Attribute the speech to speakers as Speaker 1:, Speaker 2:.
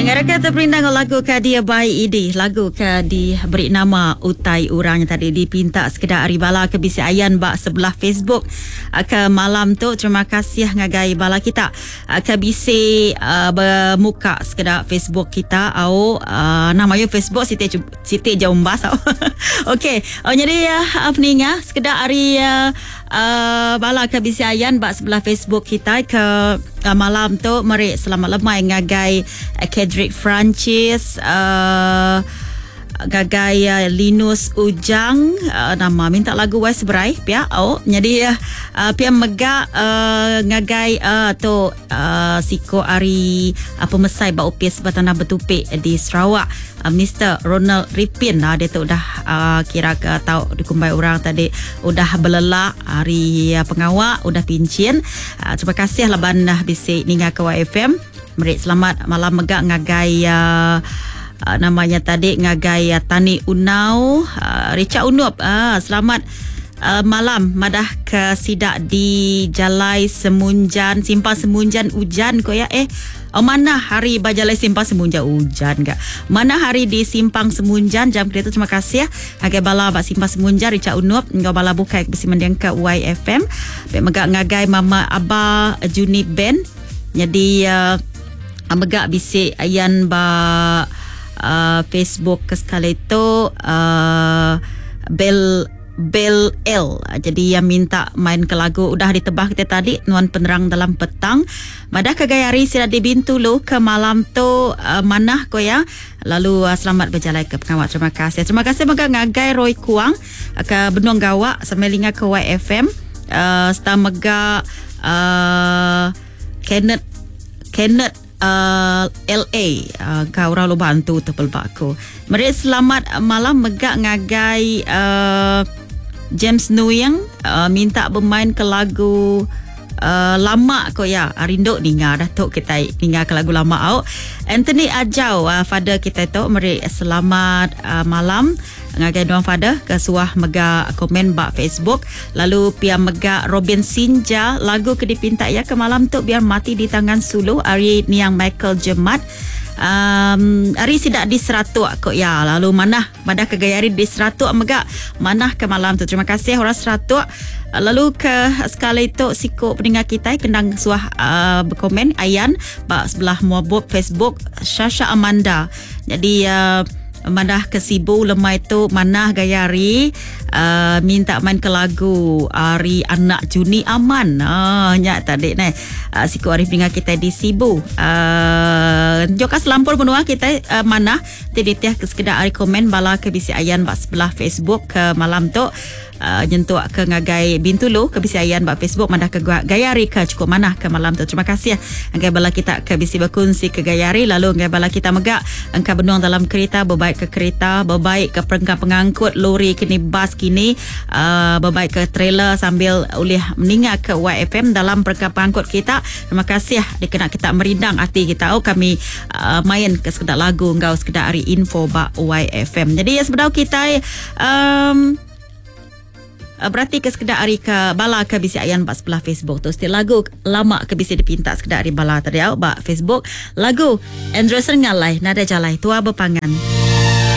Speaker 1: Ngarapka teperindang enggau lagu ke dibai Idi, lagu ke diberi nama Utai Orang nya tadi dipinta sekeda ari bala ke bisi ayan ba sebelah Facebook ke malam tu. Terima kasih ngagai bala kita ke bisi bemuka sekeda Facebook kita au anang mayuh Facebook siti siti ja umbas au. Okey, nyadi peninga sekeda ari Uh, bala ke bisi ayan ba sebelah Facebook kita ke uh, malam tu meri selamat lemai ngagai uh, Kedrick Francis uh, ngagai uh, Linus Ujang uh, nama minta lagu Wai Seberai pia oh jadi uh, pia mega uh, ngagai uh, tu uh, siko ari uh, pemesai ba opis Batanah Betupi di Sarawak uh, Mister Ronald Ripin uh, dia tu udah uh, kira ke tau dikumbai orang tadi udah belelak hari uh, pengawa udah pincin. Uh, terima kasih laban uh, bisi ninga ke YFM. Meri selamat malam mega ngagai uh, uh, namanya tadi ngagai uh, Tani Unau, uh, Richard Unup. Uh, selamat uh, malam madah ke sida di Jalai Semunjan, Simpang Semunjan ujan ko ya eh. Oh, mana hari ba Jalai Simpang Semunjan ujan ga. Mana hari di Simpang Semunjan jam kereta terima kasih ngagai bala ba Simpang Semunjan Richard Unup enggau bala bukai ke bisi mending ke YFM. Pek mega ngagai Mama Aba Juni Ben. Jadi uh, mega bisi ayan ba uh, Facebook ke sekali tu uh, Bell Bell L. Jadi yang minta main ke lagu udah ditebah kita tadi nuan penerang dalam petang. Madah ke gaya hari sida di Bintulu ke malam tu uh, manah ko ya. Lalu uh, selamat berjalai ke pengawal. Terima kasih. Terima kasih mega ngagai Roy Kuang uh, ke Benung Gawak sambil linga ke YFM. Uh, serta mega uh, Kenneth Kenneth uh, LA uh, kau orang lu bantu tu pelba aku. Meri selamat malam mega ngagai uh, James Nuyang uh, minta bermain ke lagu uh, lama ko ya. Rindu ninga dah tu kita ninga ke lagu lama au. Anthony Ajau uh, father kita tu meri selamat uh, malam ngagai nuan father ke suah mega komen ba Facebook. Lalu pia mega Robin Sinja lagu ke dipinta ya ke malam tu biar mati di tangan sulu ari niang Michael Jemat. Um, ari sida di Seratuk ko ya. Lalu manah madah ke gaya ari di Seratuk mega manah ke malam tu. Terima kasih orang Seratuk. Lalu ke sekali tu siku pendengar kita kendang suah uh, berkomen ayan ba sebelah muabub Facebook Shasha Amanda. Jadi uh, madah ke Sibu lemai tu manah gaya hari uh, minta main ke lagu ari anak Juni Aman. Ah nya tadi neh. Uh, siku ari pendengar kita di Sibu. Uh, joka selampur menua kita uh, manah ti ditih ke sekeda ari komen bala ke bisi ayan ba sebelah Facebook ke malam tu. Uh, nyentuk ke ngagai Bintulu ke bisi ayan ba Facebook madah ke gaya hari ke cukup manah ke malam tu. Terima kasih ngagai bala kita ke bisi berkongsi ke gaya hari lalu ngagai bala kita mega engka benung dalam kereta berbaik ke kereta berbaik ke perengka pengangkut lori kini bas kini uh, berbaik ke trailer sambil ulih meninga ke YFM dalam perengka pengangkut kita. Terima kasih dikena kita merindang hati kita. Oh, kami uh, main ke sekedar lagu enggau sekedar hari info ba YFM. Jadi ya sebenar kita um, berarti ke sekedar hari ke bala ke bisi ayan ba sebelah Facebook tu. Setiap lagu lama ke bisi dipinta sekedar hari bala tadi au ba Facebook. Lagu Andrew Ngalai Nada Jalai Tua Bepangan.